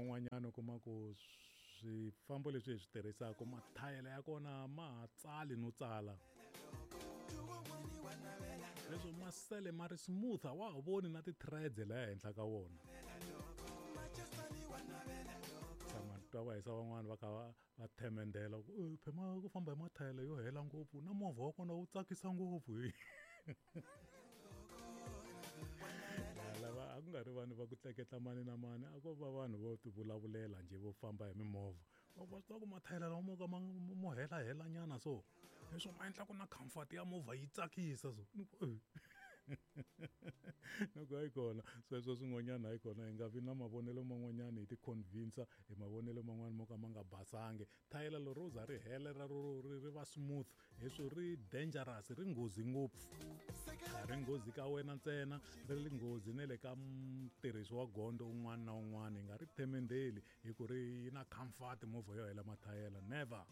wun'wanyana u kuma ku swifambo leswi hi swi tirhisaka mathayela ya kona ma ha tsali no tsala leswo ma sele ma ri smooth a wa ha voni na ti-threads laya henhla ka wona. Tshama twa va hisa van'wani va kha va va themendela ku "Eh, phema ku famba hi mathayela yo hela ngopfu na movha wa kona wu tsakisa ngopfu. Lava a ku nga ri vanhu va ku tleketla mani na mani, a ko va vanhu vo ti vulavulela njhe vo famba hi mimovha. Va ku va swi tiva ku mathayela lawa mo ka ma mo helahela nyana so leswo ma endla ku na comfort ya movha yi tsakisa so. Ni ku eh. Ni ku hayi kona sweswo swin'wanyana hayi kona hi nga vi na mavonelo man'wanyana hi ti convince hi mavonelo man'wani mo ka ma nga basangi. Thayela lero ro za ri hela ra ro ri ri va smooth leswo ri dangerous ri nghozi ngopfu. A ri nghozi ka wena ntsena ri ri nghozi na le ka mutirhisi wa gondzo un'wana na un'wana. Hi nga ri themendheli hi ku ri yi na comfort movha yo hela mathayela never.